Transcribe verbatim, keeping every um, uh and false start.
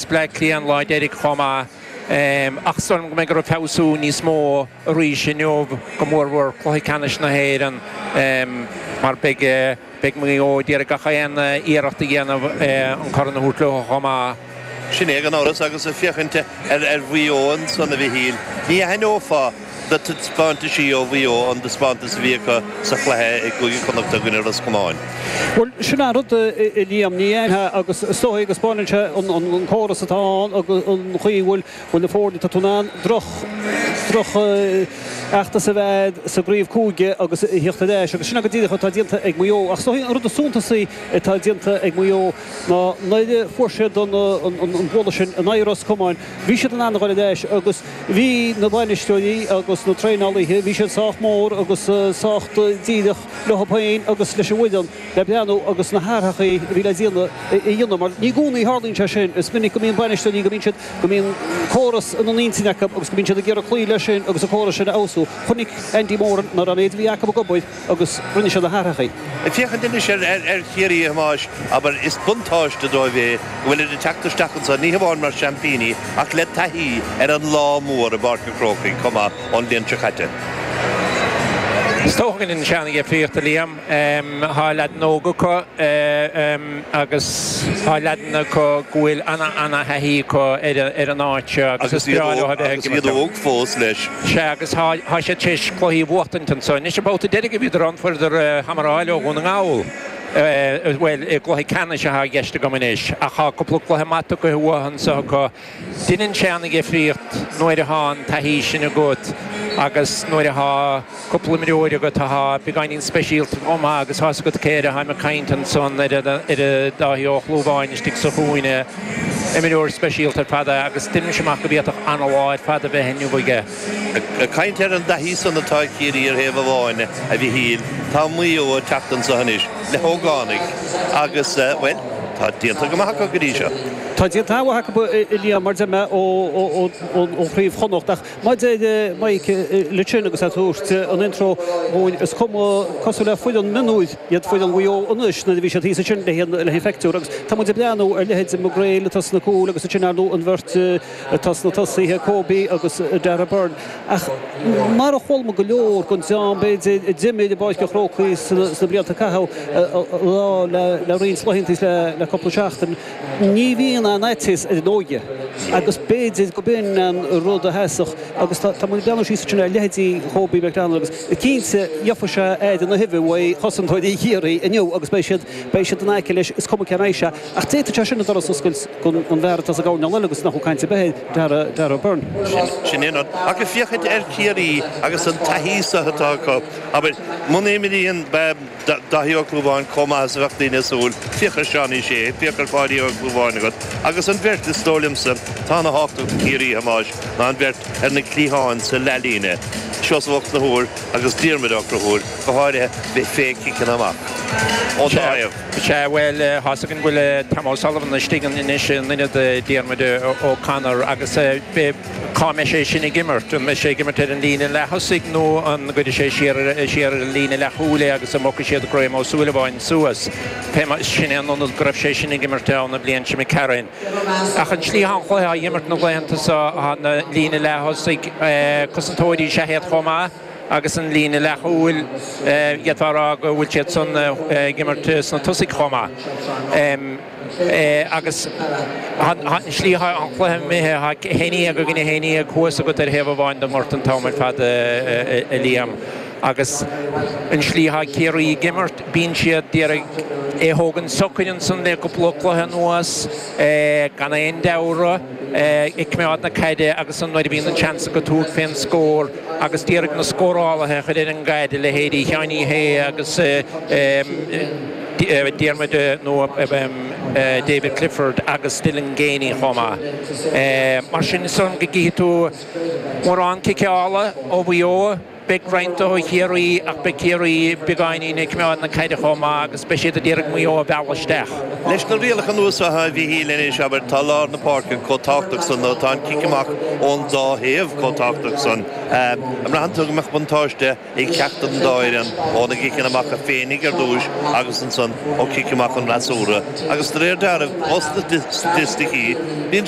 Bleá Cliath an lá deiridh chomh maith. Ach is dóigh liom go mbeidh orthu feabhsú níos mó arís inniu, go mórmhór cluiche ceannais na hÉireann, mar beidh beidh Maigh Eo ag iarraidh gach aon iarracht a dhéanamh an corn a thabhairt leo chomh maith. Sin é gan amhras agus ag féachaint ar Mhaigh Eo ansan a Mhichíl, ní aithneofá na taispeántaisí ó Mhaigh Eo an taispeántas a bhí acu sa chluiche i gCúige Chonnacht i gcoinne Ros Comáin. Bhuel, sin an rud, a Liam, ní aithneofá agus is dóigh go spáineann sé an córas atá ann agus an chaoi a bhfuil na foirne, tá tú in ann droch, droch fheachtas a bheith agat sa gcraobh cúige agus a theacht ar ais agus sin go díreach atá déanta ag Maigh Eo. Ach is dóigh an rud is suntasaí atá déanta ag Maigh Eo ná nuair a fuair siad an bualadh sin in aghaidh Ros Comáin, bhí siad in ann a dhul ar ais agus bhí na bainisteoirí agus na traenálaithe, bhí siad sách mór agus sách díreach leo féin agus leis an bhfoireann le breathnú agus na hathruithe a bhí le déanamh a dhéanamh mar ní i gcónaí a tharlaíonn sé sin. Is minic go mbíonn bainisteoirí, go mbíonn siad, go mbíonn córas ina n-intinn acu agus go mbíonn siad ag iarraidh cloí leis sin agus an córas sin a fheabhsú. Chonaic Andy Moran nach raibh an méid a bhí acu ag obair agus rinne siad na hathruithe. Ag féachaint anois ar Chiarraí, a Thomáis, abair, is buntáiste dóibh é go bhfuilid ag teacht isteach anseo, ní hamháin mar seaimpíní, ach le taithí ar an lá mór i bPáirc an Chrócaigh chomh maith ón bhliain seo caite. Is dócha go ndéanann sé an-dhifríocht, a Liam. Tá leaideanna óga acu agus tá leaideanna acu go bhfuil ana-ana-thaithí acu ar an áit seo agus is breá leo a bheith ag imirt. Agus iad óg fós leis. Sea, agus tá siad tar éis cluichí a bhuachtaint anseo. Anois an babhta deiridh a bhíodar ann fuaireadar hamáráil ó Dhún na nGall. Bhuel, i gcluiche ceannais atá i gceist agam anois, ach tá cúpla cluiche maith tugtha uathu anseo acu. Deineann sé an-dhifríocht nuair atá an taithí sin agat agus nuair atá cúpla imreoir agat atá beagáinín speisialta chomh maith agus tá's agat cé air atáim ag caint ansan, ar Dáithí Ó Chlúmháin istigh sa chúinne, imreoir speisialta ar fad é agus deinimse amach go bhféadfadh an-lá ar fad a bheith inniu aige. Ag caint ar an dtaithí san atá ag Ciarraí ar thaobh amháin, a Mhichíl, tá Maigh Eo ag teacht anso anois le hógánaigh agus, bhuel, tá déanta go maith acu go dtí seo. Tá déanta an-mhaith acu, a Liam, mar deir mé, ó Chraobh Chonnacht. Ach mar a deir Mike leat sin agus é ag tabhairt an intro dhúinn, is cuma cosúil le foireann mionúir iad foireann Mhaigh Eo anois nuair a bhí siad thíos ansin le haghaidh an phictiúr. Agus tá muid ag breathnú ar leithéid McGrail atá sna cúil agus ansin, ar ndóigh, an bheirt atá sna tosaithe, Kobe agus Darragh Beirne. Ach mar a chuala muid go leor den dream, b'fhéidir, a d'imir i bPáirc an Chrócaigh sna blianta a caitheadh le roinnt laethanta is le cúpla seachtain, ní bhíonn aon fhaitíos ar an óige agus b'fhéidir go b'in an rud a sheasfadh agus tá muid ag breathnú síos ansin ar leithéidí Kobe McDonald agus cinnte gheobhaidh sé aire na huibhe uaidh chosantóirí Chiarraí inniu agus beidh siad beidh siad in aice leis, is cuma cé mbeidh sé. Ach d'fhéadfadh sé sin an doras a oscailt don bhfear atá sa gcoirnéal eile agus nach bhfuil caint ar bith air, Darragh, Darragh Beirne. Sin é an rud. Ach ag féachaint ar Chiarraí agus an taithí so atá acu, abair, muna imríonn Dáithí Ó Clúmháin chomh maith is a bheadh daoine ag súil, féach ar Seánie Shea, féach ar Pháidí Ó Clúmháin agat, agus an bheirt, is dóigh liomsa, atá ana thábhachtach do Chiarraí, a Thomáis, ná an bheirt ar na cliatháin sa leathlíne, Seosamh Ó Conchúir agus Diarmuid Ó Conchúir, go háirithe fé chiceanna amach ón dá thaobh. Sea, bhuel, tá's againn go bhfuil Tom O'Sullivan istigh anois in ionad Diarmuid O'Connor agus cá mbeidh sé sin ag imirt? An mbeidh sé ag imirt ar an líne leath-thosaigh nó an gcuirfidh sé siar siar ar an líne leathchúil é agus an mbogfaidh siad Graham Ó Súilleabháin suas? Pé mar, sin é an ionad go raibh sé sin ag imirt ann an bhliain seo imigh tharainn. Ach an tslí atá an cluiche á imirt na laethanta seo, tá na líne leath-thosaigh, cosantóirí is ea iad chomh maith. Agus an líne leathchúil, d'fhéadfá a rá go bhfuil siad san ag imirt sna tosaigh chomh maith. Agus an slí atá an cluiche imithe, tá a haon déag i gcoinne a haon déag thuas agat ar thaobh amháin den ngort an t-am ar fad, a Liam. Agus an slí atá Ciarraí ag imirt, bíonn siad d'iarraidh é a thógaint socair ansan le cúpla cluiche anuas, gan aon deabhradh, ag coimeád na caide agus nuair a bhíonn an seans acu tabhairt fén scór, agus d'iarraidh na scórálaithe a chur ar an gcaid, a leithéidí Sheáiní Shé agus Diarmuid nó David Clifford agus Dylan Geaney chomh maith. Mar sin, is dóigh liom go gcífidh tú mórán ciceála ó Mhaigh Eo. Beidh roinnt ó Chiarraí ach beidh Ciarraí beagáinín ag coimeád na caide chomh maith agus beidh siad ag iarraidh Maigh Eo a mhealladh isteach. Leis na rialacha nua seo, a Mhichíl, anois, abair, tá lár na páirce chomh tábhachtach san nó tá an cic amach ón dá thaobh chomh tábhachtach san. An mbraitheann tú go mbeadh buntáiste ag ceachtar den dá fhoireann ó na gciceanna amach féinig ar dtúis agus ansan ó chic amach an fhreasúra? Agus de réir dealraimh, ó staitisticí, bíonn sé.